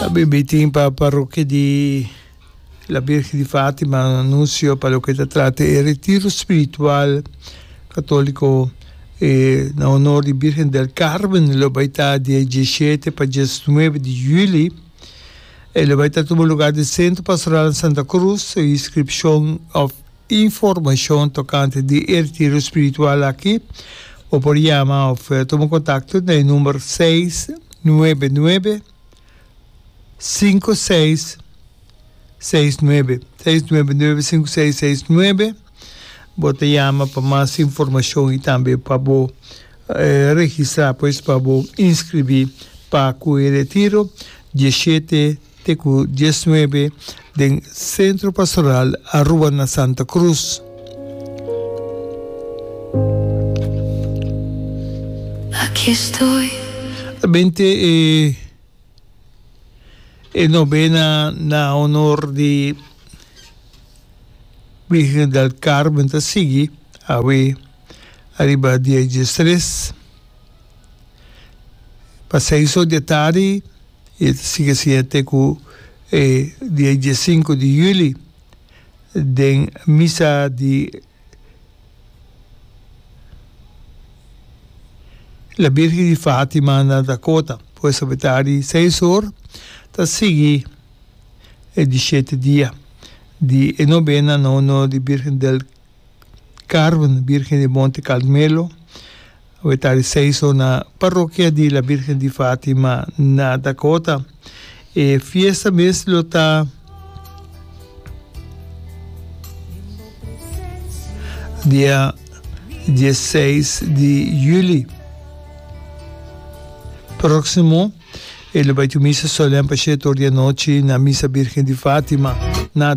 Tambe meeting pa parokia di La Virgen di Fatima un anuncio pa loke ta trata e retiro spiritual catolico na honor di Virgen del Carmen lo bay ta di diesshete pa diesnuebe di juli. E lo bay ta tuma lugar den Centro Pastoral Santa Cruz. E inscripcion of Informashon tokante di e retiro spiritual aki bo por yama òf tuma kontakto na e number 699 5669, 699 5669. Bo ta yama pa mas informashon i tambe pa bo registrá, pues pa bo inskribí pa ku e retiro 17. Te ku diesnuebe den Centro Pastoral Aruba na Santa Cruz. Aquí estoy. Bente e e novena na honor di Virgen del Carmen ta sigui awe ariba dia diestres pa seis or di e tardi. I e ta sigui asina te ku e dia diesinku di yüli den misa di La Birgen di Fatima na Dakota. Pues awe tardi seis or ta sigui e di shete dia di e nobena na honor di Birgen del Carmen, Birgen di Monte Carmelo. Awe tardi seis or na Parokia di La Birgen di Fatima na Dakota. E fiesta mes lo ta dia diesseis di juli proximo. E lo bai tin un misa solem pa shete or di anochi na Misa Birgen di Fatima.